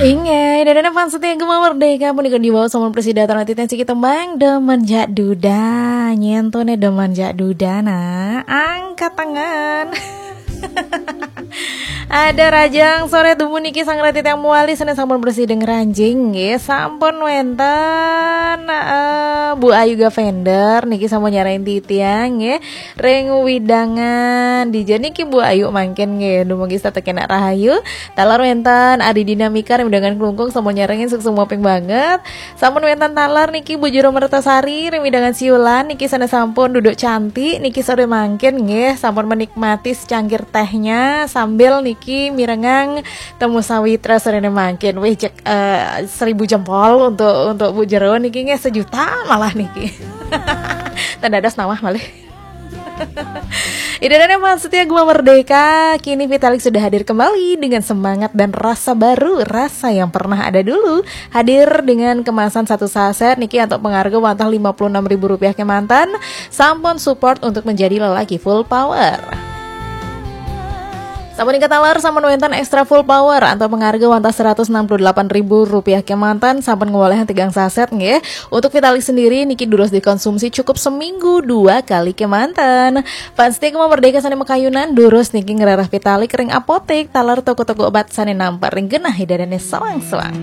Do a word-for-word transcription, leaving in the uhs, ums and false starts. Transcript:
Inggih, ida dané fans setia Gema Merdeka, punika dibawa sampun presida titiang siki tembang Demen Jak Duda. Nyén to né demen jak duda, nah, angkat tangan. Ada Rajang Sore Dumun niki sareng titiang malih sané sampun presida ngranjing nggih. Sampun wénten eh, Bu Ayu Gavender niki sampun nyarengin titiang nggih. Ring wewidangan dija niki Bu Ayu mangkin nggih. Dumugi setata kenak rahayu. Taler wénten Adi Dinamika ring wewidangan Klungkung sampun nyarengin suksma banget. Sampun wénten taler niki Bu Jero Mertasari ring wewidangan Siulan niki sané sampun duduk cantik niki sore mangkin nggih, sampun menikmati secangkir tehnya sambil niki mirengang Temu Sawitra soréné mangkin. Wih, cek eh, seribu jempol untuk untuk Bu Jero niki nggih, sejuta malah niki. Tanda das nama malih. Ida dané fans setia Gema Merdeka, kini Vitalik sudah hadir kembali dengan semangat dan rasa baru, rasa yang pernah ada dulu. Hadir dengan kemasan satu saset niki antuk pangarga wantah lima puluh enam ribu rupiah kemanten, sampun support untuk menjadi lelaki full power. Sapunika taler sampun wénten extra full power antuk pangarga wantah seratus enam puluh delapan ribu rupiah kemanten, sampun ngwalehang tigang saset nggih. Untuk Vitalik sendiri niki durus dikonsumsi cukup seminggu dua kali kemanten. Fans setia Gema Merdeka sané makayunan durus niki ngrereh Vitalik ring apotek taler toko-toko obat sané nampek ring genah ida dané sawang-sawang.